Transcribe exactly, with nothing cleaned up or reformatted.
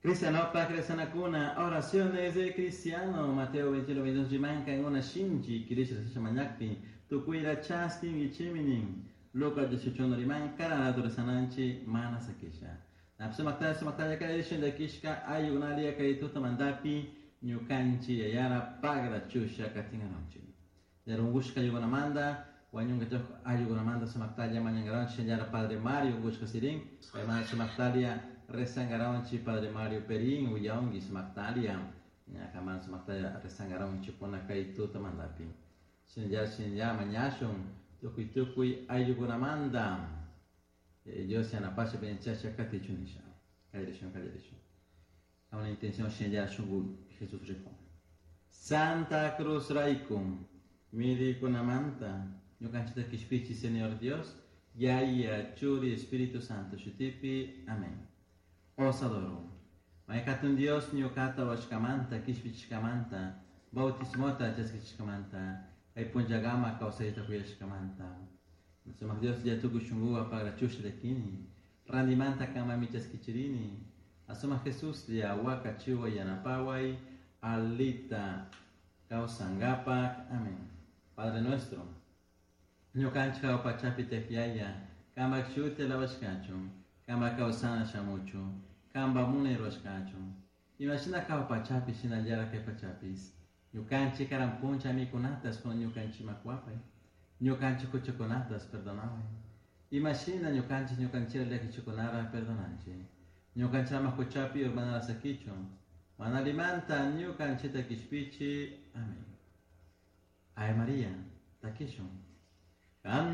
Cristianopak rezanakuna, oraciones de cristiano, Mateo veintiuno, veintidós rimanka una shinchi, kirisha mañakpi, tukuyra chaskinguichimi nin. Lucas dieciocho riman, karana rezananchi, mana sakisha. Sumaktalla, sumaktalla kay dakishka ayunalia kay tutamantapi ñukanchi yayara pagra chusha katingaronchi. Yarungushka ayugunamanda, wañunga ayugunamanda sumaktalla mañangaronchi yara Padre Mario ungushka sirin, paymanta sumaktalia rezangaronchi Padre Mario Perín uyaungi sumaktalia, ñakaman sumaktalla rezangaronchi kuna kay tutamantapi. Shinallar shinallar mañashun tukuy tukuy ayugunamanda. Dios yanapasha benchasha katichun nisha. Kallarishun, kallarishun. A una intención shinallar shungu Jesús rijo. Santa Cruz raikum, mirikunamanta, ñukanchita kishpichi Señor Dios, Yaya, Churi, Espíritu Santo, shutipi, amén. Os adoro. Maykatun Dios ñukata washkamanta, kishpichishkamanta, bautismota chaskichishkamanta, kay punllagama kawsayta kuyashkamanta. Sumak Dios ya tukuy shunguwa pagrachusha llakini, randimanta kamami chaskichirini, asuma Jesús ya wakachiwa yanapaway, alita kawsangapak. Amén. Padre nuestro, ñukanchik pachapi tiyak kampak shuti alabashkachun, kampak kawsana shamuchun, kampak munay rurashkachun. Imashina jahua pachapi shinallara kay pachapis. Ñukanchik karan puncha mikunatas kun ñukanchikman kuwapay. Ñukanchik huchakunatas perdonaway. Imashina ñukanchik ñukanchikta llakichikunara perdonanchik. Ñukanchik ama huchapi urmanara sakichun. Mana allimanta ñukanchikta kishpichi. Amén. Ave María, takishun.